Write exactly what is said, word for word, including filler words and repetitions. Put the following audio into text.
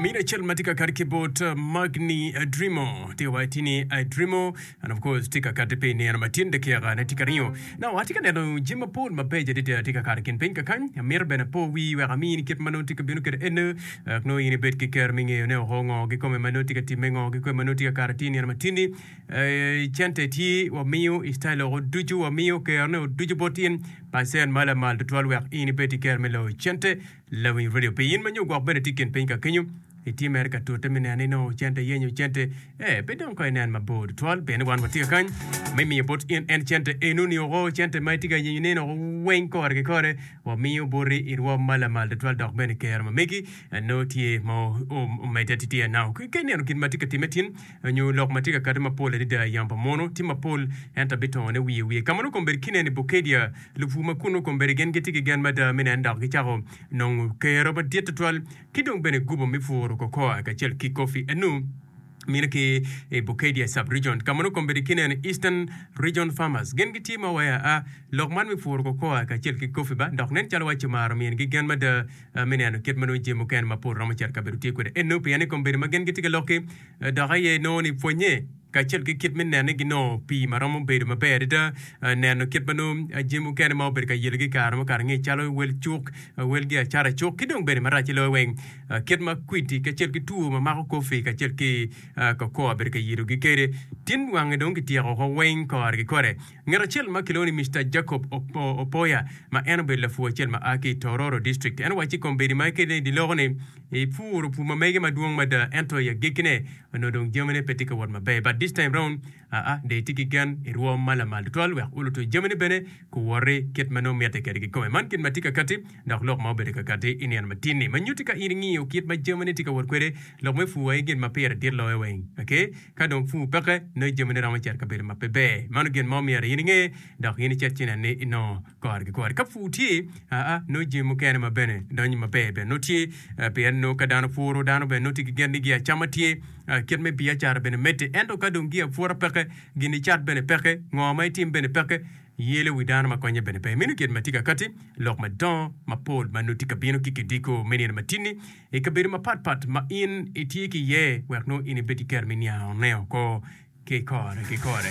Amino acel ma tye ka kati ki bot Magni Adrimo tye ka waco ni Adrimo and of course tye ka kati pi nino ma tin dakika ne tye ka ringo. Now atye ka neno jami mapol mabeco adada tye ka kato i kin piny kakany. Amito bene apo wii wek amini kit ma nongo tye ka bino kwede eno wek nongo in ibed ki kero me ngeyo ne oko ngo kikome ma nongo tye ka timme ngo kikome ma nongo tye ka kato atir nino ma tin-ni. Cente tye wamiyo i style oko ducu wamiyo kero ne ducu bot in percent ma lamal tutwal wek in ibed ki kero me loyo cente. Lawiny radio pi in ma nyo gwok bene tye i kin piny ka kenyo, itye mere ka tute me neno ni nongo cente iyenyo cente. Ee, pe dong kong inen mabor tutwal, pien ni wan watye ka kany me miyo bot in en cente enoni oko, cente ma itye ka yenyo ne oko weng kore ki kore, wamiyo boti i rwom ma lamal tutwal dok bene kero ma megi nongo tye ma omedde atitiya. Now, ka ineno gin ma tye ka timme tin, nyo lok ma tye ka kati mapol adada i yamo pa muno, tye mapol ento abitongone wiye wiye. Ka ma nongo kombeddi kineno i Bukedia, Lupur ma kunnu kombeddi gin gitye ki gen mada me neno dok gicako nongo kero madit tutwal ki dong bene gubo me puro cocoa kacel ki coffee enu mino ki i Bukedia sub-region ka ma nongo kombeddi kineno Eastern Region Farmers gin gitye ma waya a lok man me puro cocoa kacel ki coffee ba dok nen calo waci omaro minigi gen mada me neno kit ma nongo jami mukene mapol romo cito kabedo tye kwede enu pien ni kombeddi ma gin gitye ka lok-ki dok aye nongo ni pwonye kacel ki kit me neno ni ginongo pii ma romo bedo maber adada, neno kit ma nongo jami mukene ma obedo ka yelogi i kare mukato angec calo wel cuk, wel giacara cuk ki dong bene marac loyo weng kit ma kwidi kacel ki two ma mako kofi kacel ki cocoa obedo ka yelogi kwede. Tin wange dong kityeko woko weng kore ki kore. Ngat acel ma kilwongo ni Mister Jacob Opoya ma en obedo lapur acel ma a ki i Tororo District en owacci kombeddi ma ekele i dye loko ni epuro pur ma mege madwong mada ento i agikkine onongo dong jamine pe tye ka wot maber but this time round aa dong etye ki gen i rwom ma lamal tutwal wek oluto jamine bene guwoti kit ma nongo mitte kwede kikome. Man gin ma tye ka kati dok lok ma obedo ka kati i nino matin-ni ma nyutti ka in ingiyo kit ma jamine tye ka wot kwede lok me pur aye gin ma pire dit loyo weng. Okay? Ka dong pur peke nongo jamine romo cito kabedo ma pe ber. Mano gin ma omyero in inge dok in icit ci inen ni inongo kore ki kore. Ka pur tye, aa, nongo jami mukene ma bene donyo maber bene nongo tye, pien nongo ka dano puro, dano bene nongo tye ki gen ni giacama tye, kit me biacara bene medde. Ento ka dong giapura peke, gin icat bene peke, ngo ma itim bene peke, yelo wi dano ma konye bene pe. Meno gin ma tye ka kati, lok madongo mapol ma nongo tye ka bino ki kidiko me nino matinni i kabedo mapatpat ma in itye ki iye wek nongo in ibed ki kero me niangone oko kikore kikore.